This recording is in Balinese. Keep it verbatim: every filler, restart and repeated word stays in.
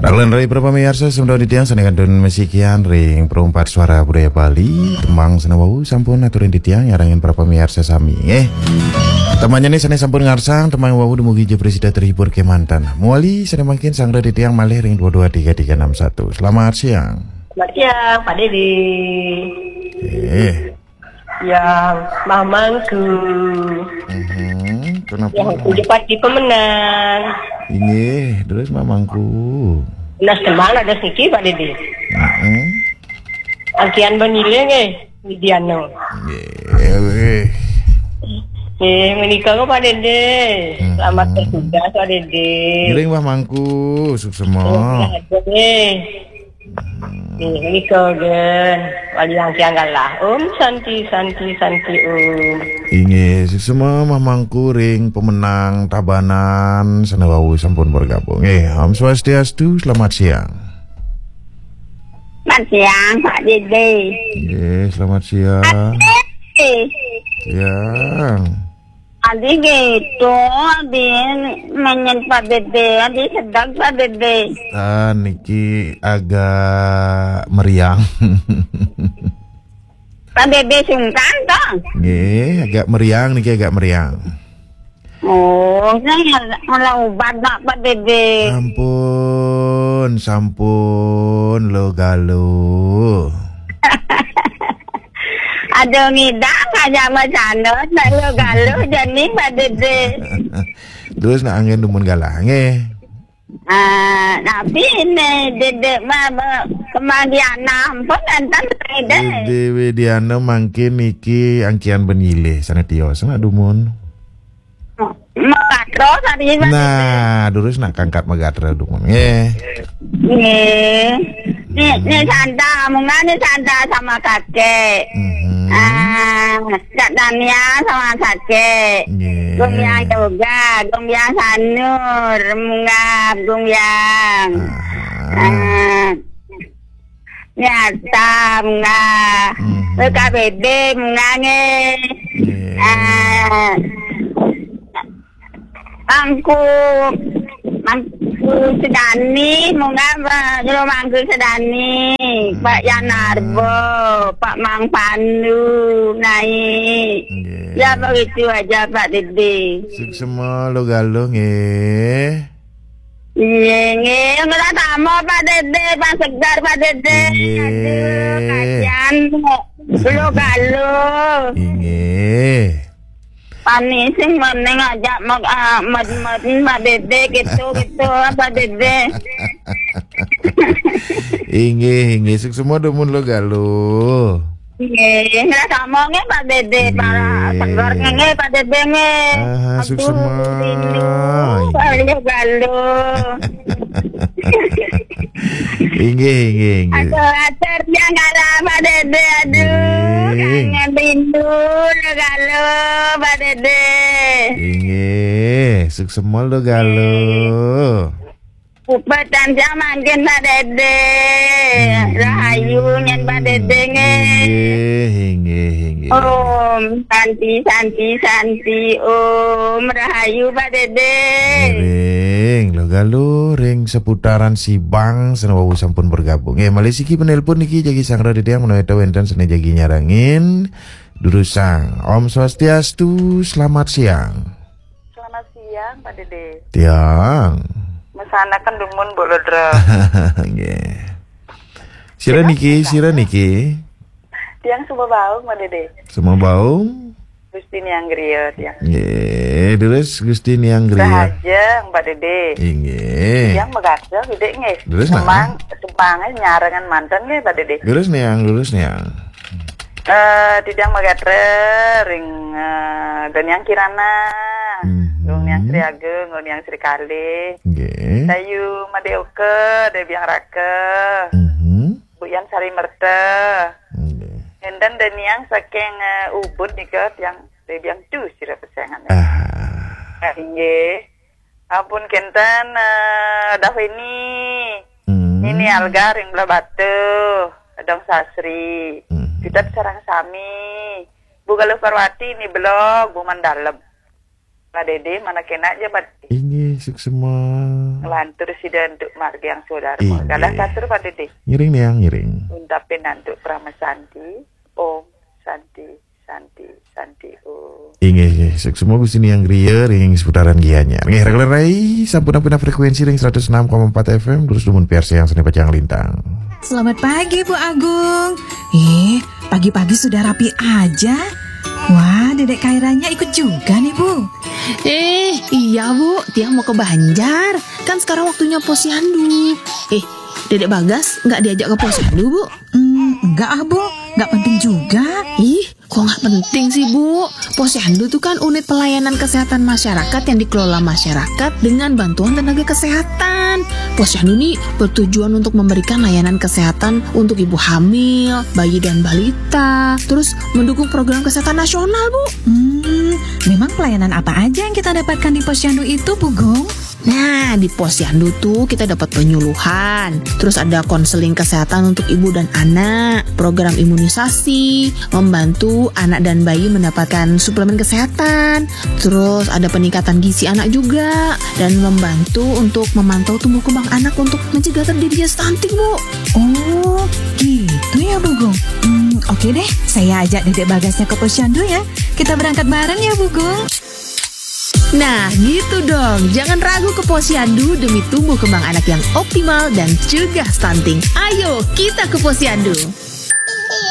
Arlan rai para pamiarsa, sembah titiang sané kantun masikian ring Perempat Suara Budaya Bali, tembang sané wau sampun aturin titiang nyarengin para pamiarsa sami, eh. Tembangnya nih sané sampun ngarsang, tembang wau dumugi ja prasida terhibur kemanten. Mawali sané mangkin sanggra titiang malih ring dua dua tiga tiga enam satu. Selamat siang. Selamat siang, Pak Dede. Eh. Yang mamangku. Mhm, kenapa? Yang tujuh pasti pemenang. Inggih, terus mamangku. Nah, sembang ada siki, Pak Dede. Heeh. Angkian beniling, eh, Widiano. Nggih, weh. Eh, menika kok, Pak Dede. Mhm. Selamat bertugas, Pak Dede. Ngiring, Mbah Mangku, suksema. Eh, eh. Nggih, menika, Gen. Wali angkian galah. Om Santi, Santi, Santi, Om. Inggih, suksema mamangku ring pemenang Tabanan sané wau sampun bergabung. Nggih, Om Swastiastu, selamat siang. Selamat siang, Pak Dede. Nggih, selamat siang. Pak Dede. Siang. Adi gitu, adi menyet Pak Dede, adi sedang Pak Dede. Ah, niki agak meriang. Pak Dede sungkan toh? Nggih, agak meriang niki, agak meriang. Oh, saya malah ubat nak Pak Dede. Ampun, sampun, lo galo. Aduh, ngidang aja macana, nak lo galo jani Pak Dede. Terus nak angin dumun galah, nggih. Ah, tapi ini Dede mah be-, kemanggian ampun enten Dede. Dede Widiana mangkin niki angkian benilih sané tios nak dumun. Magatra tadi, Pak Dede. Nah, durus nak kangkat magatra dumun. Nggih. Nggih. Ni, ni Santa, munggah ni Santa sama kakek. Mhm. Ah, Kak Dania sama kakek. Nggih. Gumbiang Yoga, Gumbiang Sanur, munggah Gumbiang. Aha. Ah. Nyata, munggah. Mhm. P K B B, munggah nggih. Nggih. Ah. Mangku, Mangku Sedani, munggah, Pak, Jero Mangku Sedani, Pak Yanarbo, Pak Mang Pandu, naik. Nggih. Ya, begitu aja, Pak Dede. Suksema lo galo, nggih. Iya, nggih. Ngerasa sama, Pak Dede, Pak Segar, Pak Dede. Nggih. Aduh, kasihan, lo galo. Inggih. Panis sing meneng aja mek, ah, med-med, Pak Dede, gitu, gitu, Pak Dede. Inggih, inggih, suksema dumun lo galo. Nggih, nggih, sama nggih, Pak Dede, Pak Segar nggih, Pak Dede nggih. Aha, aduh, suksema. Rindu, Pak, lo galo. Inggih, inggih, inggih. Atur-atur yang kalah, Pak Dede, aduh, inggih. Kangen rindu, lo galo, Pak Dede. Inggih, suksema lo galo. Upet tansah mangkin Pak Dede. Hmm. Rahayu nyen Pak Dede nggih. Inggih, inggih, inggih. Om Santi, Santi, Santi, Om Rahayu Pak Dede. Ngiring, lo galo ring seputaran Sibang, sané wau sampun bergabung. Eh, malih siki penelpon niki jagi sanggra titiang menawi wénten sané jagi nyarengin. Durusang. Om Swastiastu, selamat siang. Selamat siang, Pak Dede. Tiang. Mesanaken dumun, Mbok Lodra. Nggih. Sira niki, sira niki. Tiang Sumbabaung, Pak Dede. Sumbabaung. Gusti Niang Griya, tiang. Nggih, terus Gusti Niang Griya. Rahajeng, Pak Dede. Inggih. Tiang megarsa, Dede, nggih. Terus, nah. Semang, semangé nyarengan manten, nggih, Pak Dede. Terus, Niang, terus, Niang. Eh, titiang magatra ring, eh, Daniang Kirana, mhm. Dong Niang Sri Ageng, Dong Niang Sri Kalih. Nggih. Dayu Madé Oka, Dé Biang Raka. Mhm. Bu Yan Sari Merta. Nggih. Enten Daniang saking, eh, Ubud nika tiang Dé Biang tu sira pesengan. Ah. Eh, nggih. Ampun kenten, eh, Daveni. Hmm. Nini Alga ring Blahbatuh, Dong Sasri. Hmm. Kita sareng sami. Bu Galuh Parwati ni belog, Bu Mandalem. Pak Dede, mana kena aja, Pak Dede? Inggih, suksema. Ngelantur sida untuk margiang saudara. Inggih. Galah katur Pak Dede. Ngiring niang, ngiring. Untapin antuk Parama Santi. Om Santi, Santi, Santi, Om. Inggih, inggih. Suksma Gusti Niang griya ring seputaran Gianyar. Nggih, raka lerai sampun ampina frekuensi ring seratus enam koma empat F M, terus dumun piarsayang sané pacang lintang. Selamat pagi, Bu Agung. Eh, pagi-pagi sudah rapi aja. Wah, Dedek Kairanya ikut juga nih, Bu. Eh, iya, Bu. Tiang mau ke Banjar. Kan sekarang waktunya posyandu. Eh, Dedek Bagas nggak diajak ke posyandu, Bu? Hmm, enggak ah, Bu. Enggak penting juga. Ih, kok nggak penting sih, Bu? Posyandu tuh kan unit pelayanan kesehatan masyarakat yang dikelola masyarakat dengan bantuan tenaga kesehatan. Posyandu nih bertujuan untuk memberikan layanan kesehatan untuk ibu hamil, bayi dan balita, terus mendukung program kesehatan nasional, Bu. Hmm, memang pelayanan apa aja yang kita dapatkan di posyandu itu, Bu Gung? Nah, di posyandu tuh kita dapat penyuluhan, terus ada konseling kesehatan untuk ibu dan anak, program imunisasi, membantu anak dan bayi mendapatkan suplemen kesehatan, terus ada peningkatan gizi anak juga, dan membantu untuk memantau tumbuh kembang anak untuk mencegah terjadinya stunting, Bu. Oh, gitu ya, Bu Gung. Hmm, oke deh, saya ajak Dedek Bagasnya ke posyandu ya. Kita berangkat bareng ya, Bu Gung. Nah, gitu dong. Jangan ragu ke posyandu demi tumbuh kembang anak yang optimal dan cegah stunting. Ayo, kita ke posyandu.